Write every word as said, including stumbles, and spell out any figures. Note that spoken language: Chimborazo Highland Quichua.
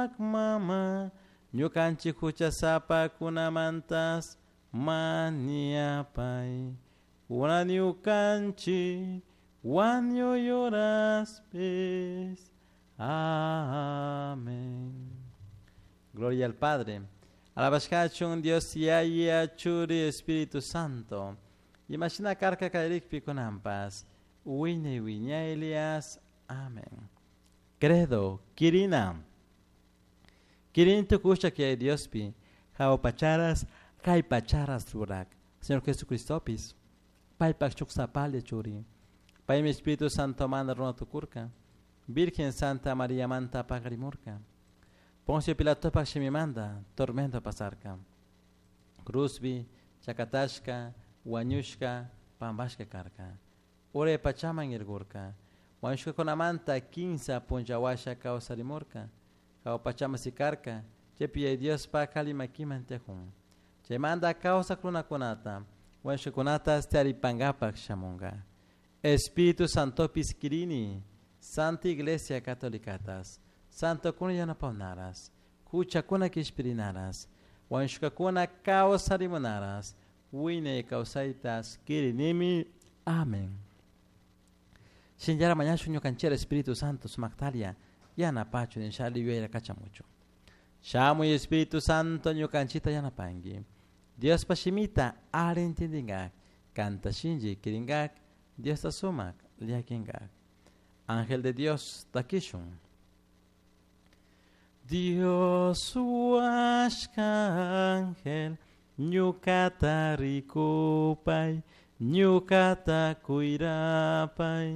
Sumac mama, ñukanchik huchasapakunamantas mañapay. Kunan ñukanchik wañuy horaspis. Amén. Gloria al Padre. Alabashkachun Dios Yaya Churi Espíritu Santo. Imashina karka kallarikpi kunanpas. Wiñay wiñaylias. Amén. Credo, Kirina. Kirin tukusha que Diospi. Jahua pacharas, kay pacharas rurak. Señor Jesucristopis. Paypak shuk sapalla churi. Paymi Espíritu Santo manda runa tukurka. Virgen Santa María manta paqarimurka. Poncio Pilatopak shimimanta tormento pasarka. Cruzbi, chakatashka, wañushka, pambashka karka. Uray pachaman irgurka. Wañushkakunamanta kinsa punlla washa kawsarimurka. Jahua pachaman sikarka. Chaypi Yaya Diospak alli makiman tiyakun. Chaymanta kawsak runakunata, wañushkakunata taripankapak shamunka. Espíritu Santopis kirini, Santa Iglesia Catolicatas, Santokuna yanapawnaras, huchakuna kishpirinaras, wañushkakuna kawsarimunaras, wiñay kawsaytas kirinimi. Amén. Shinllara mañashun ñukanchikta Espíritu Santo sumaktalia yanapachu nishali yuyayta kachamuchu. Shamuy Espíritu Santo ñukanchikta yanapanki. Diospa shimita alli intindinkak, kanta shinlli kirinkak, Diosta sumak llakinkak. Ángel de Dios takishun. Dios huashka ángel, ñukata rikupay, ñukata cuirapay.